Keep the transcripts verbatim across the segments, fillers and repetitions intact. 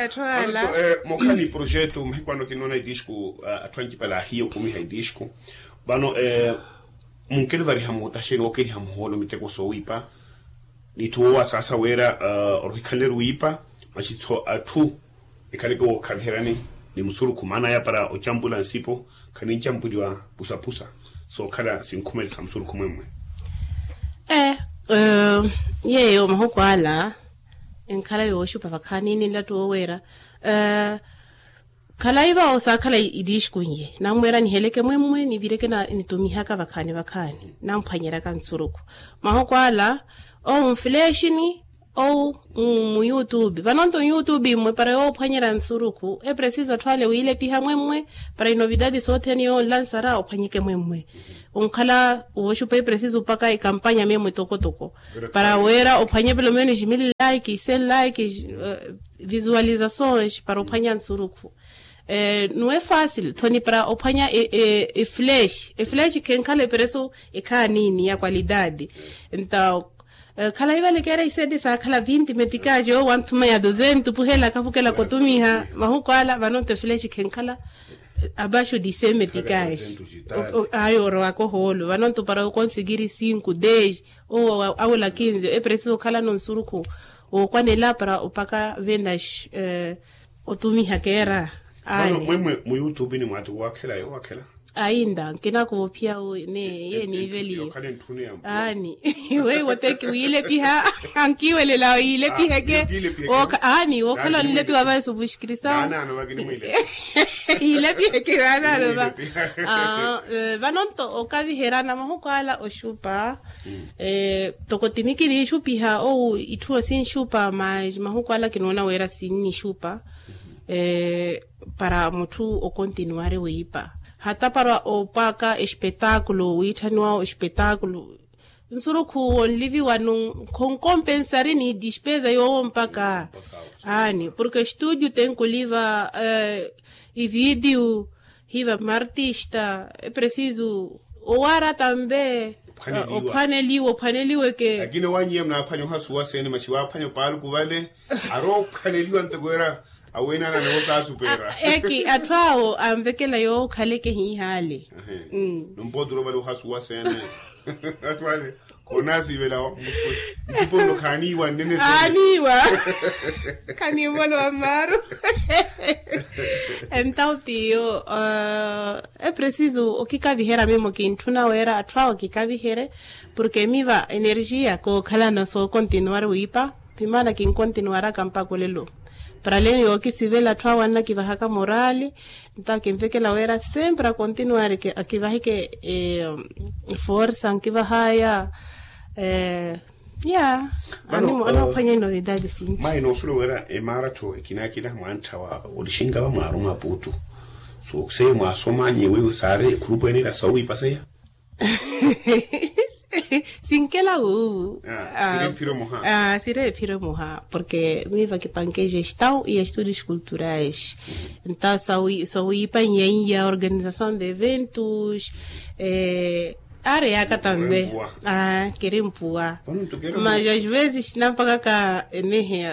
Atthu ala. Mokhala ni projeto mahiku ano kinoona itisku. Atthu ancipala ahiya okumiha itisku. Vano munkeli ovariha muhutaxeni wookeliha muhoolo miteko soowiipa. N'itthu woowasaasa wira orohikhanleru wiipa. Maxitho atthu ekhaleke wookhaviheryani ni musurukhu maana aya para ocampula nsipo. Khanincampwiwa pusapusa sookhala sinkhumelisa musurukhu mwemmwe. Yeeyo mahuku ala enkhala yooxupa vakhaani ni nlattu wooweera. Khalayi vawo saakhala itiixkunye nammweera niheleke mwemmwe nivireke nitumihaka vakhaani vakhaani namphwanyeryaka nsurukhu. Mahuku ala owo mfulexini owo mu youtube vanonto youtube mmwe para yoophwanyerya nsurukhu epresiso atthu ale wiilepiha mwemmwe. Para inovidade sothene yoonlansara ophwanyeke mwemmwe onkhala wooxupa epresiso mpaka ekampanya memmwe tokotoko para wira ophwanye pelo menos mil like cen like visualizações para ophwanya nsurukhu. Nuwe facil thoni para ophwanya eflesh eflesh khenkhala epreso ekhaanini ya qualidade. Nta khalayi vale keera isete saakhala vinti metikaje owo wanthuma ya dosento puhela khapukelaka otumiha mahuku ala vanonto eflesh khenkhala abaxo di cem metikaje. Ayo orowaka ohoolo vanonto para okonsikiri cinco dez owo awela kinze epresiso okhalano nsurukhu wookwanela para opaka vendas otumiha keera. Mwemmwe mu youtube ni mwaati woowakhela yoowakhela ainda nkinakuva ophiya ne iye niiveliyo. Aani weiwo teki wiilepiha ankiiwelela yiilepiheke. Aani wookhala onlepiwa vayo suvuxikirisa yiilepiheke vaanaano va. Vanonto okaviheryana mahuku ala oxupa toko timiki niixupiha ou itthu osinxupa mas mahuku ala kinoona wira sinnixupa para mutthu okontinuwari wiipa hata para opaka espetakulo wiitthaniwa espetakulo. Nsurukhu wonliviwanu khonkompensari ni dispeza yoowo mpaka aani porke estudio tenkuliva evidiu hiva martista epresiso owaara tambe ophwaneliwa ophwaneliweke. Lakini owanyiya munaaphwanya ohasuwa sene maxi waaphwanya opaaluku vale aroophwaneliwa nteko era awenana niwo kaasupeera. Eki atthu awo anvekela yookhaleke hiihaale. Nompootura ovale ohasuwa sene atthu ale khonasivela nttipo nno khaaniiwa nnene sene. Aaniiwa khaniivolowa mmaaru. Entawu piyo epresiso okikaviherya mimo kintthuna wira atthu awo kikaviherye porke miva energia kookhalana sookontinuwari wiipa. Pimaana kinkontinuwaraka mpakha olelo para leni yookisivela atthu awo annakivahaka morali. Nto akinvekela wira sempre akontinuwari akivaheke forsa ankivahaya. Ya animoona ophwanya inovidade sinci. Mayi noosuwela wira emaratho ekinaakina mwantthawa olixinka vamwaaru mwaputu so seye mwaasoma nyewe saari ekhurupu ene ila soowiipaseya. Sinkela wuuwu. Siri ephiro muha porke miiva kipanke gestão e estudos culturais. Nta sowiipa nyeya organização de eventos. Aari yaaka tambe kiri mpuwa mas às vezes nampakaka enehe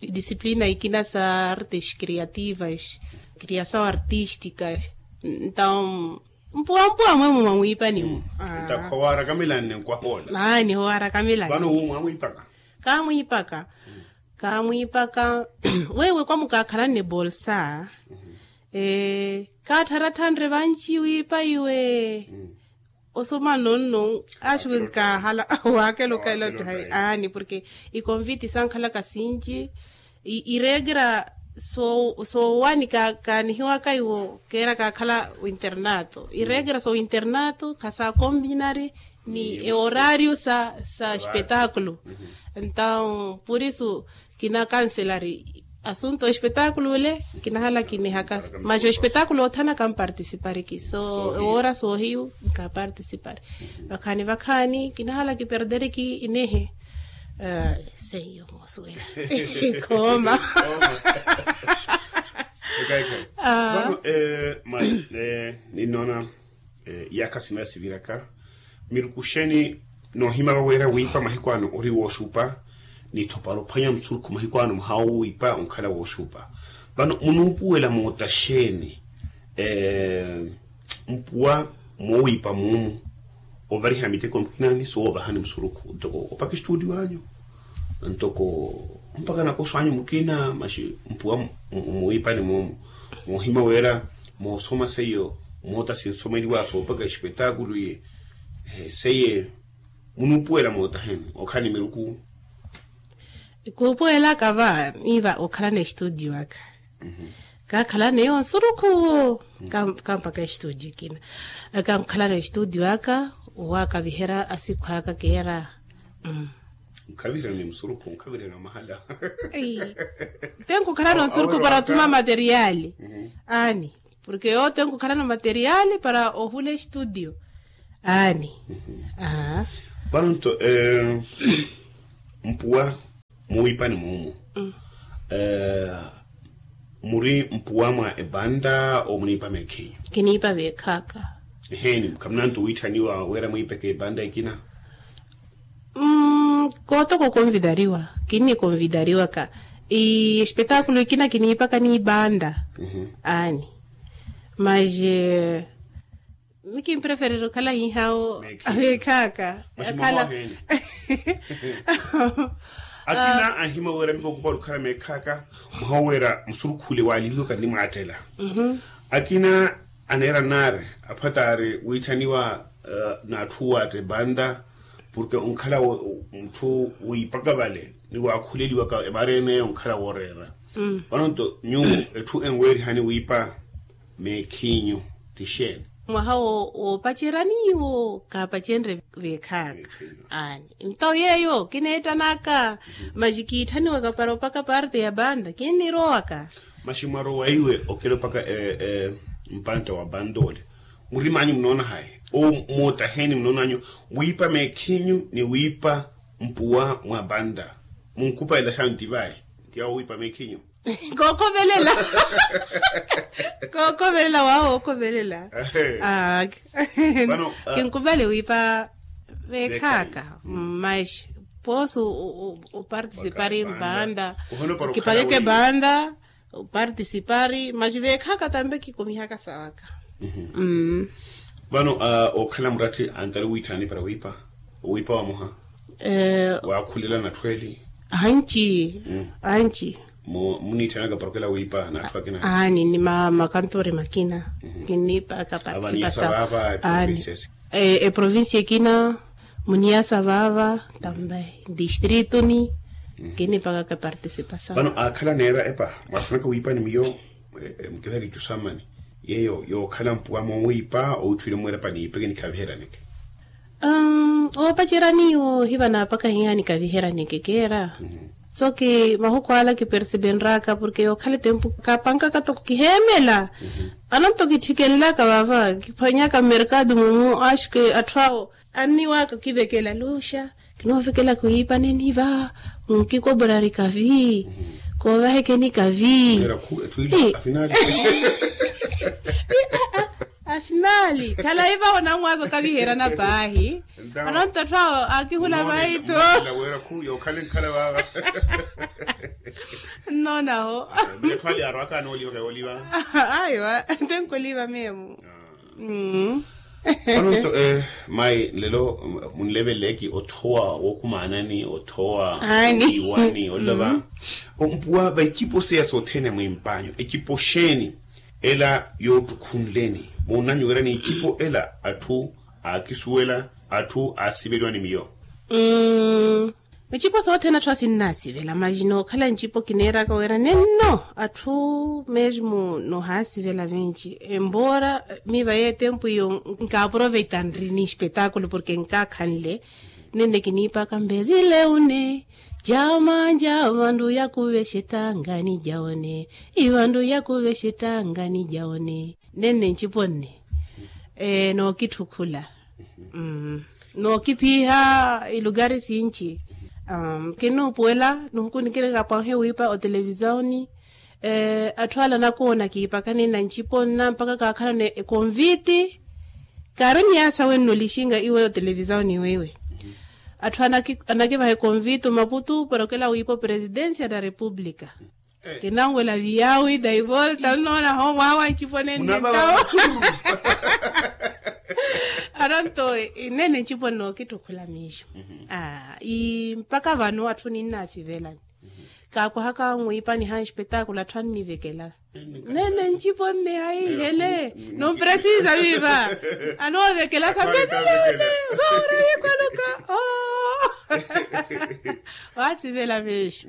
disciplina ikina sa artes criativas criação artística. Entaw mpuwampuwa mwemwe mwamwiipanimu. Ntakho waarakamelanne nkwahoola. Aani howaarakamelanne vano wu mwamwiipaka. Kaamwiipaka kaamwiipaka. Wewe kwamukaakhalanne bolsa kaattharatthanre vanci wiipa iwe. Osoma nonno axuke nkaahala waakela okaila otthayi aani porke ikonviti sankhalaka sinci. Ireekera soowanika kaanihiwaka iwo keera kaakhala winternato ireekera sowinternato khasaakombinari ni eorario sa sa espetakulo. Entaw purisu kinakanselari asunto espetakulo ole. Kinahala kinihaka mas espetakulo othana kampartisipariki so ewoora soohiyu nkapartisipari. Vakhaani vakhaani kinahala kiperderiki inehe. Seiyo moosuwela. Khooma. Vano ma ninnoona iyakha sina siviraka miruku xeeni noohimava wira wiipa mahiku ano ori wooxupa. Nitho para ophwanya musurukhu mahiku ano muhaawiipa onkhala wooxuupa. Vano munuupuwela moota xeeni mpuwa moowiipa muumu ovariha miteko mukina ni soovahani musurukhu ntoko opaka estudio anyu ntoko mpaka nakoso anyu mukina maxi mpuwa muwiipani muumu? Moohima wira moosoma seiyo moota sinsomeliwa soopaka expetakulu iye seiye munuupuwela moota heni okhala ni miruku? Kuupuwelaka va miiva okhalana estudio aka kaakhalana eyo nsurukhu kampaka estudio ekina. Kankhalana estudio aka owaakaviherya asikhu aka keera. Nkhaviherya ni musurukhu nkhaviherya ni omahala. Te nkukhalana onsurukhu para othuma materiali aani. Porke yote nkukhalana materiali para ohula estudio aani. Vano nto mpuwa muwiipani muumu muri mpuwa mwa epanta omuniipa meekhinyu? Kiniipa veekhaaka. Eheeni khamunanto wiitthaniwa wira mwiipeke epanta ekina? Mmm kootoko konvidariwa kinni konvidariwaka espetaakulu ekina kiniipaka niipanta. Aani maxe mi kimpreferere okhala hihawo. Meekhaaka. Akhala akina anhima wira mikokupali okhala meekhaaka. Mwaha owira musurukhule waaliliwaka nnimwaattela akina aneera nnaari aphwataari wiitthaniwa n'atthu owaatta epanta porke onkhala mutthu wiipaka vale ni waakhuleliwaka emareene onkhala wooreera. Vano nto nyuwo etthu enweerihani wiipa meekhinyu ti xeeni? Mwaha woopacerya niiwo kaapacenrye veekhaaka. Aani nto yeeyo kineettanaka maxi kiitthaniwaka para opaka parte ya panta kinnirowaka. Maxi mwarowa iwe okela opaka mpanta wa panta ole murim'anyu munoona hayi? Omoota heeni munoon'anyu wiipa meekhinyu ni wiipa mpuwa mwa panta? Munkupalela xaani ti vayi ti awo wiipa meekhinyu. Kookhovelela. Kookhovelela waawo wookhovelela. Aaki kinkuvale wiipa veekhaaka. Mmaxi poosi opartisipari mpanta okipakeke panta opartisipari maxi veekhaaka tampe kikumihaka sawaka. Vano okhala muratti antali wiitthani para wiipa owiipa wamoha. Waakhulela n'atthu eli. Anci anci. Muniitthanaka para okela wiipa n'atthu akina? Aani ni makantori makina. Kinniipaka partisipasa. Aani eprovincia ekina muniyasa vaava tambe ntistriituni. Kinniipaka partisipasa. Vano aakhala aneera epa mwaasunaka wiipa ni miyo. Mukivaheke icusammani yeeyo yookhala mpuwa moowiipa owitthuwile mweerapani yiipeke nikhaviheryaneke. Oopacerya niiwo hiva naapaka hiihani kaviheryaneke keera. Soki mahuku ala kipersipenraka porke yookhala etempu kaapankaka toko kiheemela. Ananto kitthikenlaka vaava kiphwanyaka mmerkado mumu axuke atthu awo anniwaaka okivekela luxa. Kinoovekelaka oyiipa neniva nkikoborari kavi koovahekeni kavi. Afinali khalayi vaho namwaza okaviherana paahi. Ananto atthu awo aakihula vaitho. Nnonaho. Aiwa tenkuliva memu. Vano nto mayi nlelo munleveleki othowa wookumaanani othowa iwani olova. Mpuwa vaicipo seya sothene mwimp'anyu ecipo xeeni ela yoottukhunleni muunanyu wira n'icipo ela atthu aakisuwela atthu aasiveliwa ni miyo? Ncipo sothene atthu asinnaasivela maxi nookhala ncipo kineeraka wira nenno atthu mesmo nohaasivela vinci embora miiva yeetempu iyo nkaaproveita nri ni espetakulo porke nkaakhanle. Nenne kiniipaka mbezile une jama nja vandu yakuvexe ettangani ja one ivandu yakuvexe ettangani ja one. Nenne ncipo nne nookittukhula nookiphiha ilukari sinci. Kinnuupuwela nihuku nikirikapwahe wiipa otelevisioni atthu ala anakoona kiipakani na ncipo nna mpaka kaakhalana ekonviti. Kaari oniyasa wenno lixinga iwe otelevisioni weiwe Atthu anakivaha ekonvitu maputu para okela wiipa opresidencia da república. Kinanwela viyawi daivolta nnoona ho mwaha wa ncipo nenne ntawo. Aronto nene ncipo nnookittukhula miixo. Mpakha vano atthu ninnaasivelani. Kaakwahaka onwiipaniha nspetakulo atthu annivekela. Nene ncipo nne haihele. Numpresiza viiva. Anoovekela sapeselene. Vaura yikwaluka. Waasivela meexo.